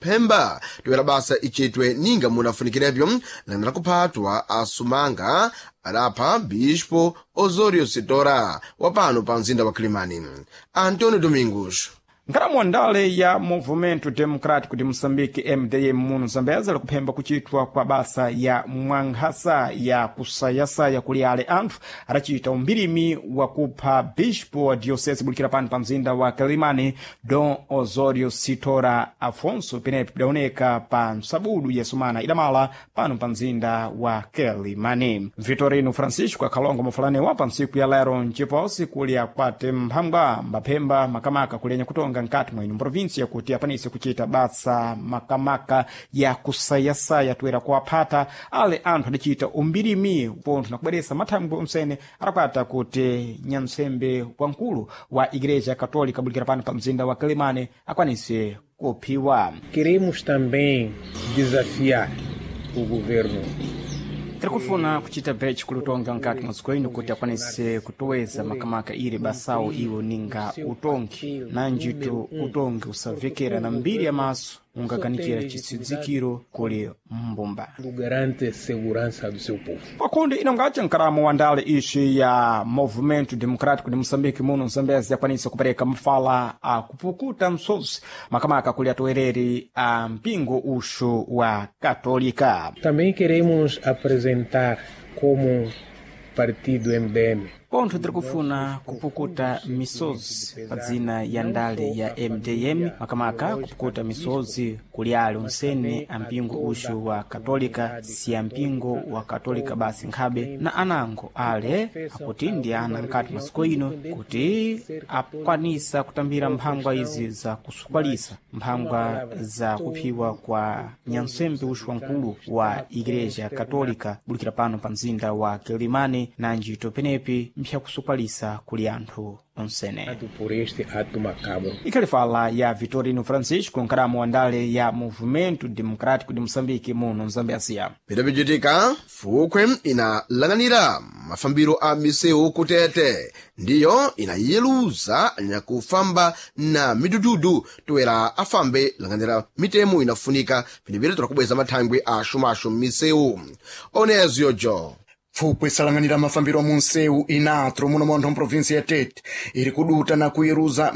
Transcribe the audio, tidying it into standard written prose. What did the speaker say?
Phemba toera basa ichetwe ninga munafunikirebyo langana kuphatwa asumanga adapha Bispo Osorio Sitora wa pano pa mzinda wa Kilimani. Antonio Domingos. Nkhalamu ndale ya Movimento Democrático de Moçambique, MDM, muno Zambeza likuphemba kuchitwa kwa basa ya mwankhasa ya kusayasaya kuli ale anthu adacita umbirimi wa kupha bispo wa diocese bulikira pano pa mzinda wa Quelimane, Dom Osório Sitora Afonso, penepo pidaoneka pa msabudu ya sumana idamala pano pa mzinda wa Quelimane. Vitorino Francisco akhalongo mafulani pa ntsiku ya lero mciposi kuli akwate mphangwa mbaphemba makamaka kulenya kutonga nkati mwa ino provinsia kuti apanise kuchita basa makamaka ya kusayasaya toera kuwaphata ale anthu adacita umbirimi pontho nakubweresa mathangwe omsene adakwata kuti nyamsembe wamkulu wa Igreja Católica bulikira pano pa mzinda wa Quelimane akwanise kuphiwa. Queremos também desafiar o governo. Tirikufuna kuchita bhechi kulutonga nkati mwa dziko ino kuti akwanise kutoweza makamaka ili basawo iwo ninga utongi na njito utongi usavekera na mbiri ya maso ungakanikira chisidzikiro kuli mbumba. Garante segurança do seu povo. Pakundi inongaca nkaramo wa ndale ixi ya Movimento Democrático de Moçambique muno Zambezi yakwanisa kupereka mafala a kupukuta msozi makamaka kuli atowereri a mpingo uxu wa Katolika. Também queremos apresentar como partido MDM Pontho tirikufuna kupukuta misozi pa dzina ya ndale ya MDM, makamaka kupukuta misozi kuli ali onsene a mpingo uxu wa Katolika, si a mpingo wa Katolika basi nkhabe na anango ale akuti ndi ana nkati masiku ino kuti akwanisa kutambira mphangwa izi za kusukwalisa mphangwa za kuphiwa kwa nyansembe uxu wamkulu wa Igreja Katolika bulikira pano pa mzinda wa Quelimane na njito penepi mpyakusukwalisa kuli anthu onsene. Por este ato macabro. Ikhali fala ya Vitorino Francisco, nkhalamu wa ndale ya Movimento Democrático de Moçambique muno Mzambezia. Pidapichitika fukhwe inalang'anira mafambiro a misewu kutete ndiyo inayeluza nyakufamba na midududu toera afambe lang'anira mitemo inafunika pinipiri torakubweza mathangwe a xumaxu m'misewu oneziyo jo. Pfupwe isalanganira mafambiro a munsewu inatro muno montho mprovinsi ya Tete iri kuduta na kuyeruza.